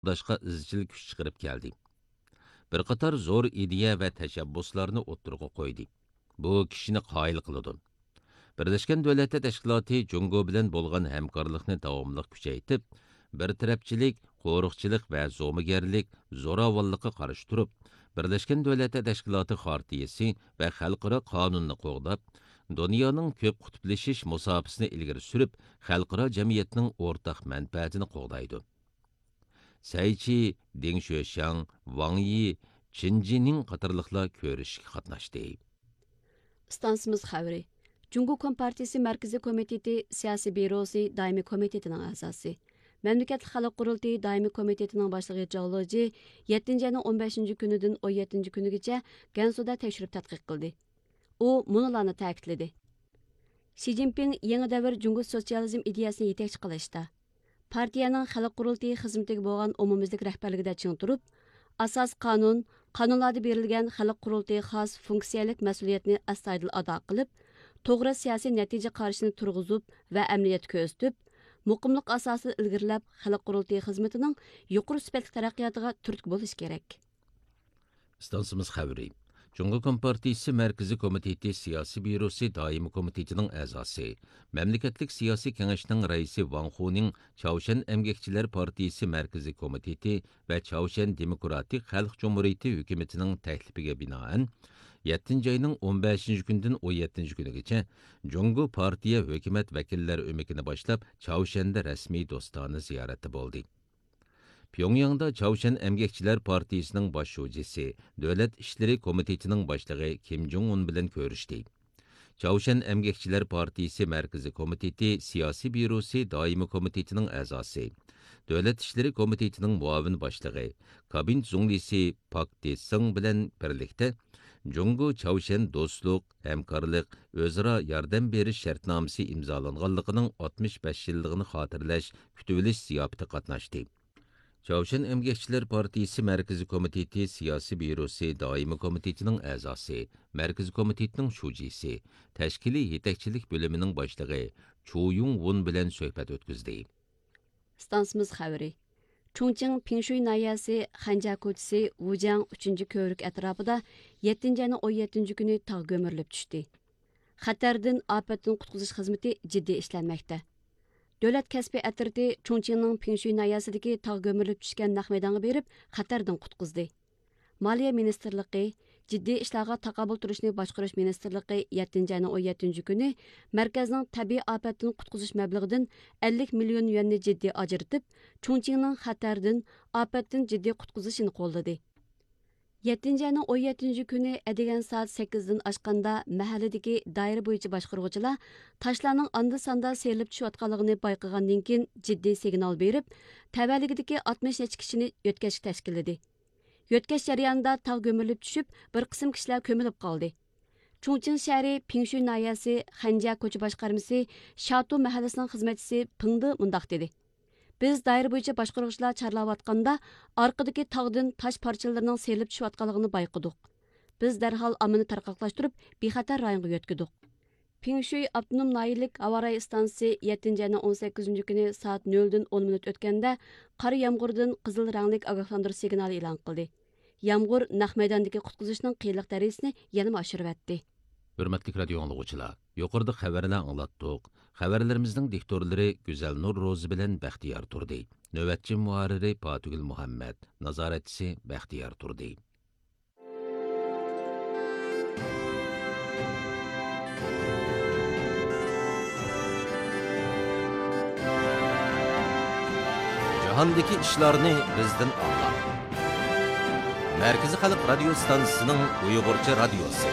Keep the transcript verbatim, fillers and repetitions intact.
قوغداشقا ئىزچىل كۈچ چىقىرىپ كەلدى. بىر قاتار زور ئىدىيە ۋە تەشەببۇسلارنى ئوتتۇرىغا قويدى. بۇ كىشىنى قايىل قىلىدۇ. بىرلەشكەن دۆلەتلەر تەشكىلاتى جۇڭگو بىلەن بولغان ھەمكارلىقنى داۋاملىق كۈچەيتىپ، بىر تەرەپچىلىك، قورۇقچىلىق ۋە زومىگەرلىك، زوراۋانلىققا قارشى تۇرۇپ، بىرلەشكەن دۆلەتلەر تەشكىلاتى خارتىيىسى ۋە خەلقئارا قانۇننى قوغداپ، دۇنيانىڭ كۆپ قۇتۇپلىشىش مۇساپىسىنى ئىلگىرى سۈرۈپ، خەلقئارا جەمئىيەتنىڭ ئورتاق مەنپەئەتىنى قوغدايدۇ. سەي چى، دېڭ شۆشياڭ، ۋاڭ يى، چېن جىنىڭ قاتارلىقلار كۆرۈشۈشكە قاتناشتى. ئىستانسىمىز خەۋىرى. جۇڭگو كومپارتىيىسى مەركىزىي كومىتېتى سىياسىي بيۇروسى دائىمىي كومىتېتىنىڭ ئەزاسى، مەملىكەتلىك خەلق قۇرۇلتىيى دائىمىي كومىتېتىنىڭ باشلىقى جاۋ لېجى يەتتىنچى ئاينىڭ ئون بەشىنچى كۈنىدىن ئون يەتتىنچى كۈنىگىچە گەنسۇدا تەكشۈرۈپ تەتقىق قىلدى. ئۇ مۇنۇلارنى تەكىتلىدى: شى جىنپىڭ يېڭى دەۋر جۇڭگو سوتسىيالىزم ئىدىيەسىنى يېتەكچى قىلىشتا، پارتىيەنىڭ خەلق قۇرۇلتىيى خىزمىتىگە بولغان ئومۇميۈزلۈك رەھبەرلىكىدە چىڭ تۇرۇپ، ئاساسىي قانۇن، قانۇنلاردا بېرىلگەن خەلق قۇرۇلتىيىغا خاس فۇنكسىيەلىك مەسئۇلىيەتنى ئەستايىدىل ئادا قىلىپ، توغرا سىياسىي نەتىجە قارىشىنى تۇرغۇزۇپ ۋە ئەمەلىيەتتە كۆرسىتىپ، مۇقىملىق ئاساسىدا ئىلگىرىلەپ، خەلق قۇرۇلتىيى خىزمىتىنىڭ يۇقىرى سۈپەتلىك تەرەققىياتىغا تۈرتكە بولۇشى كېرەك. ئىستانسىمىز خەۋىرى. جۇڭگو كومپارتىيىسى مەركىزىي كومىتېتى سىياسىي بيۇروسى دائىمىي كومىتېتىنىڭ ئەزاسى، مەملىكەتلىك سىياسىي كېڭەشنىڭ رەئىسى ۋاڭ خۇنىڭ چاۋشيەن ئەمگەكچىلەر پارتىيىسى مەركىزىي كومىتېتى ۋە چاۋشيەن دېموكراتىك خەلق جۇمھۇرىيىتى ھۆكۈمىتىنىڭ تەكلىپىگە بىنائەن، يەتتىنچى ئاينىڭ ئون بەشىنچى كۈنىدىن ئون يەتتىنچى كۈنىگىچە جۇڭگو پارتىيە ھۆكۈمەت ۋەكىللەر ئۆمىكىنى باشلاپ، چاۋشيەندە رەسمىي دوستانە زىيارەتتە بولدى. پيۇڭياڭدا چاۋشيەن ئەمگەكچىلەر پارتىيىسىنىڭ باش شۇجىسى، دۆلەت ئىشلىرى كومىتېتىنىڭ باشلىقى كىم جۇڭ ئۇن بىلەن كۆرۈشتى. چاۋشيەن ئەمگەكچىلەر پارتىيىسى مەركىزىي كومىتېتى سىياسىي بيۇروسى دائىمىي كومىتېتىنىڭ ئەزاسى، دۆلەت ئىشلىرى كومىتېتىنىڭ مۇئاۋىن باشلىقى، كابىنېت زۇڭلىسى پاك دېسىڭ بىلەن بىرلىكتە جۇڭگو چاۋشيەن دوستلۇق، ھەمكارلىق، ئۆزئارا ياردەم بېرىش شەرتنامىسى ئىمزالانغانلىقىنىڭ ئاتمىش بەش يىللىقىنى خاتىرىلەش كۈتۈۋېلىش زىياپىتىگە قاتناشتى. چاۋشيەن ئەمگەكچىلەر پارتىيىسى مەركىزىي كومىتېتى سىياسىي بيۇروسى دائىمىي كومىتېتىنىڭ ئەزاسى، مەركىزىي كومىتېتنىڭ شۇجىسى، تەشكىلىي يېتەكچىلىك بۆلۈمىنىڭ باشلىقى چۇ يۇڭ ۋۇن بىلەن سۆھبەت ئۆتكۈزدى. ئىستانسىمىز خەۋىرى. چۇڭچىڭ پىڭشۇي ناھىيەسى خەنجيا كوچىسى ۋۇجياڭ ئۈچىنچى كۆۋرۈك ئەتراپىدا يەتتىنچى ئاينىڭ ئون يەتتىنچى كۈنى تاغ كۆمۈرۈلۈپ چۈشتى. خەتەردىن، ئاپەتتىن قۇتقۇزۇش خىزمىتى جىددىي ئىشلەنمەكتە. دۆلەت كەسپىي ئەترىتى چۇڭچىڭنىڭ پىڭشۇي ناھىيەسىدىكى تاغ كۆمۈرۈلۈپ چۈشكەن نەق مەيدانغا بېرىپ، خەتەردىن قۇتقۇزدى. مالىيە مىنىستىرلىقى، جىددىي ئىشلارغا تاقابىل تۇرۇشنى باشقۇرۇش مىنىستىرلىقى يەتتىنچى ئاينىڭ ئون يەتتىنچى كۈنى مەركەزنىڭ تەبىئىي ئاپەتتىن قۇتقۇزۇش مەبلىغىدىن ئەللىك مىليون يۈەننى جىددىي ئاجرىتىپ، چۇڭچىڭنىڭ خەتەردىن، ئاپەتتىن جىددىي قۇتقۇزۇشىنى قوللىدى. يەتتىنچى ئاينىڭ ئون يەتتىنچى كۈنى ئەتىگەن سائەت سەككىزدىن ئاشقاندا، مەھەللىدىكى دائىرە بويىچە باشقۇرغۇچىلار تاشلارنىڭ ئاندا-ساندا سىيرىلىپ چۈشۈۋاتقانلىقىنى بايقىغاندىن كېيىن، جىددىي سىگنال بېرىپ، تەۋەلىكىدىكى ئاتمىش نەچچە كىشىنى يۆتكەشكە تەشكىللىدى. يۆتكەش جەريانىدا تاغ كۆمۈرۈلۈپ چۈشۈپ، بىر قىسىم كىشىلەر كۆمۈلۈپ قالدى. چۇڭچىڭ شەھىرى پىڭشۈي ناھىيەسى خەنجيا كوچا باشقارمىسى شاتۇ مەھەللىسىنىڭ خىزمەتچىسى پېڭ دې مۇنداق دېدى: بىز دائىرە بويىچە باشقۇرغۇچىلار چارلاۋاتقاندا، ئارقىدىكى تاغدىن تاش پارچىلىرىنىڭ سىيرىلىپ چۈشۈۋاتقانلىقىنى بايقىدۇق. بىز دەرھال ئاممىنى تارقاقلاشتۇرۇپ، بىخەتەر رايونغا يۆتكىدۇق. پىڭشۈي ئاپتونوم ناھىيىلىك ھاۋا رايى ئىستانسىسى يەتتىنچى ئاينىڭ ئون سەككىزىنچى كۈنى سائەت نۆلدىن ئون مىنۇت ئۆتكەندە، قارا يامغۇردىن قىزىل رەڭلىك ئاگاھلاندۇرۇش سىگنالى ئېلان قىلدى. يامغۇر نەق مەيداندىكى قۇتقۇزۇشنىڭ قىيىنلىق دەرىجىسىنى يەنىمۇ ئاشۇرۇۋەتتى. ھۆرمەتلىك رادىيو ئاڭلىغۇچىلار، يۇقىرىدا خەۋەرلەر ئاڭلاتتۇق. خەۋەرلىرىمىزنىڭ دىكتورلىرى گۈزەلنۇر روزى بىلەن بەختىيار تۇردى. نۆۋەتچى مۇھەررىرى پاتىگۈل مۇھەممەد، نازارەتچىسى بەختىيار تۇردى. جاھاندىكى ئىشلارنى بىزدىن ئاڭلاڭ. مەركىزىي خەلق رادىيو ستانسىسىنىڭ ئۇيغۇرچە رادىيوسى.